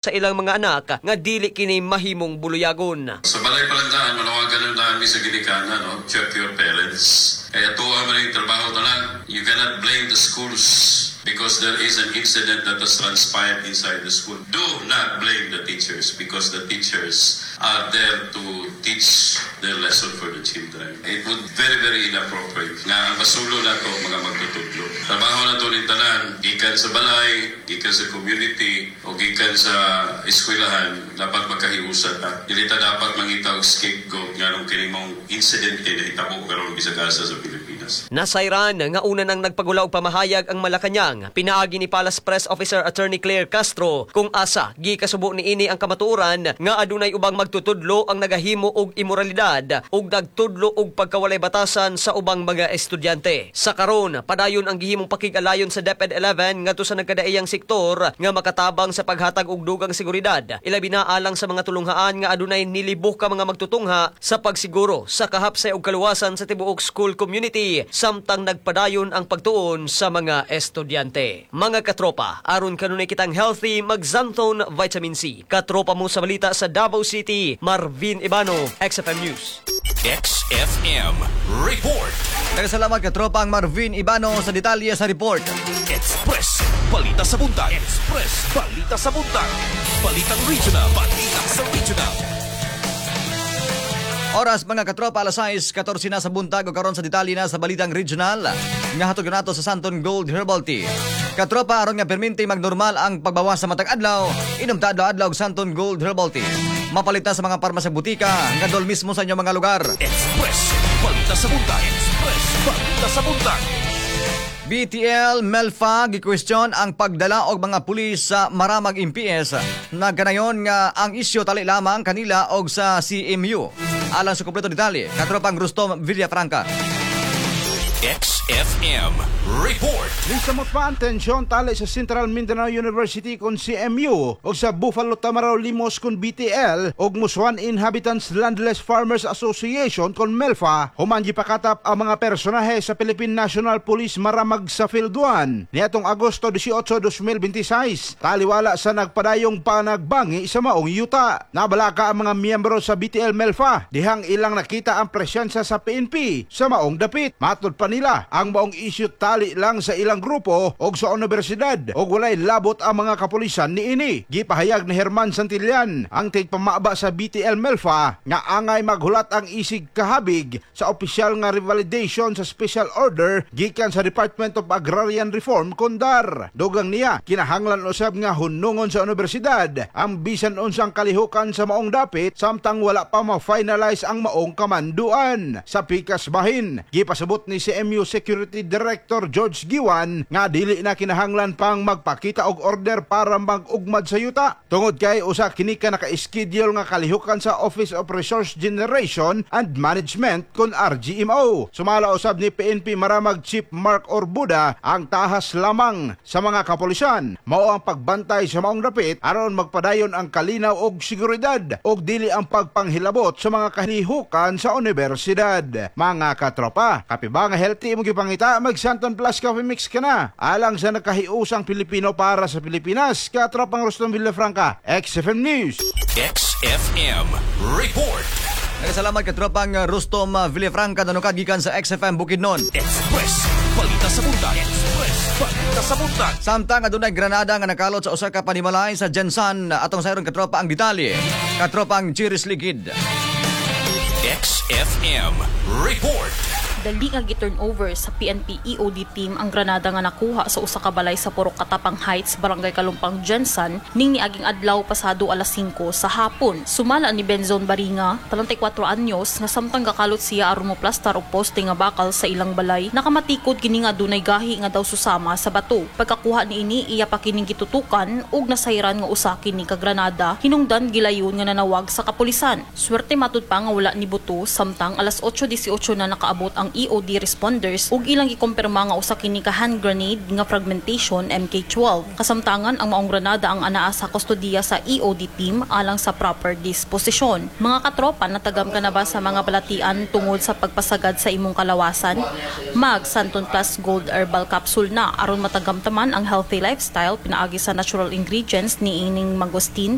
Sa ilang mga anak nga dili kini mahimong buluyagon. Sa balay pa lang daan, manawagan lang daan mi sa ginikanan, no? Check your parents. Kaya tuwa man yung trabaho tanan. You cannot blame the schools because there is an incident that has transpired inside the school. Do not blame the teachers because the teachers are there to teach their lesson for the children. It would very, very inappropriate nga ang basulo na to mga magtutudlo. Trabaho na to ni tanan, gikan sa balay, gikan sa community, o gikan sa eskwelahan, dapat magkahiusa ta. Dili ta dapat mangita og scapegoat nganong kini mong incident kay nahitabo karon bisag asa sa Pilipinas. Nasayran nga una nang nagpagula og pamahayag ang Malacañang, pinaagi ni Palace Press Officer Attorney Claire Castro, kung asa gikasubo niini ang kamatuoran nga adunay ubang magtutudlo ang nagahimo og imoralidad ug nagtudlo og pagkawalay batasan sa ubang mga estudyante. Sa karon, padayon ang gihimong pakig-alayon sa DepEd 11 ngadto sa nagkadaiyang sektor nga makatabang sa paghatag og dugang seguridad, ilabi na alang sa mga tulunghaan nga adunay nilibo ka mga magtutungha, sa pagsiguro sa kahapsay ug kaluwasan sa tibuok school community samtang nagpadayon ang pagtuon sa mga estudyante. Mga katropa, aron kanunay kitang healthy, mag-Xanthone Vitamin C. Katropa mo sa balita sa Davao City, Marvin Ibano, XFM News. XFM Report. Salamat, katropang Marvin Ibano, sa detalye sa report. Express Balita sa Buntag. Express Balita sa Buntag. Balitang Regional. Balita sa Regional. Oras, mga katropa, alas 6:14 na sa buntag o karon sa detalye na sa Balitang Regional nga hatod nato sa Santon Gold Herbal Tea. Katropa, aron nga perminti magnormal ang pagbawas sa matag adlaw, inom ta adlaw-adlaw og Santon Gold Herbal Tea. Mapalit na sa mga parmasya, butika, ngadol mismo sa inyong mga lugar. Express Balita sa Buntag. Express Balita sa Buntag. BTL Melfa gi-question ang pagdala og mga pulis sa Maramag MPS. Nagkanayon nga ang isyu tali lamang kanila og sa CMU. Alang sa kompleto detalye, katropang Rustom Villafranca. XFM Report. Nisamot pa ang tensyon tali sa Central Mindanao University kon CMU o sa Buffalo Tamaraw Limos kon BTL og Musuan Inhabitants Landless Farmers Association kon MELFA human gipakatap ang mga personahe sa Philippine National Police Maramag sa Field 1 niadtong Agosto 18, 2026 taliwala sa nagpadayong panagbangi sa maong yuta. Nabalaka ang mga miyembro sa BTL MELFA dihang ilang nakita ang presensya sa PNP sa maong dapit. Matod pa nila, ang maong issue tali lang sa ilang grupo og sa universidad og walay labot ang mga kapulisan niini. Gipahayag ni Herman Santillan, ang tigpamaba sa BTL Melfa, nga angay maghulat ang isig kahabig sa opisyal nga revalidation sa special order gikan sa Department of Agrarian Reform kon DAR. Dugang niya, kinahanglan usab nga hunungon sa universidad ang bisan unsang kalihukan sa maong dapit samtang wala pa ma-finalize ang maong kamanduan. Sa pikas bahin, gipasabot ni CMU Security Director George Giwan nga dili na kinahanglan pang magpakita og order para mag-ugmad sa yuta. Tungod kay usa kini ka naka-schedule nga kalihukan sa Office of Resource Generation and Management kon RGMO. Sumala usab ni PNP Maramag Chief Mark Orbuda, ang tahas lamang sa mga kapulisan mao ang pagbantay sa maong dapit aron magpadayon ang kalinaw og seguridad og dili ang pagpanghilabot sa mga kalihukan sa universidad. Mga katropa, kape ba nga healthy imong gipangita? Mag Santon Plus Coffee Mix ka na. Alang sa nakahiusang Pilipino para sa Pilipinas, katropang Rustom Villafranca, XFM News. XFM Report. Nagkasalamat, katropang Rustom Villafranca, nanukad gikan sa XFM Bukidnon. Express Balita sa Buntag. Express Balita sa Buntag. Samtang adunay granada nga nakalot sa usa ka panimalay sa GenSan, atong sayron, katropa, ang detalye. Katropang Chiris Ligid. XFM Report. Dali nga gi-turn over sa PNP EOD team ang granada nga nakuha sa usa ka balay sa Purok Katapang Heights, Barangay Kalumpang, GenSan, ning niaging adlaw pasado alas 5 sa hapon. Sumala ni Benzon Baringa, 34 anyos, nga samtang gakalot siya aron mo plastar og poste nga bakal sa ilang balay, nakamatikod kini nga adunay gahi nga daw susama sa bato. Pagkakuha niini, iya pa kining gitutukan ug nasayran nga usa kini ka granada, hinungdan gilayon nga nanawag sa kapulisan. Swerte matud pa nga wala ni buto samtang alas 8:18 na nakaabot ang ang EOD responders ug ilang gikumpirma nga usa kini ka hand grenade nga fragmentation MK12. Kasamtangan, ang maong granada ang anaa sa kustodiya sa EOD team alang sa proper disposisyon. Mga katropa, natagam ka na ba sa mga balatian tungod sa pagpasagad sa imong kalawasan? Mag Santon Plus Gold Herbal Capsule na aron matagamtaman ang healthy lifestyle pinaagi sa natural ingredients ni ining mangosteen.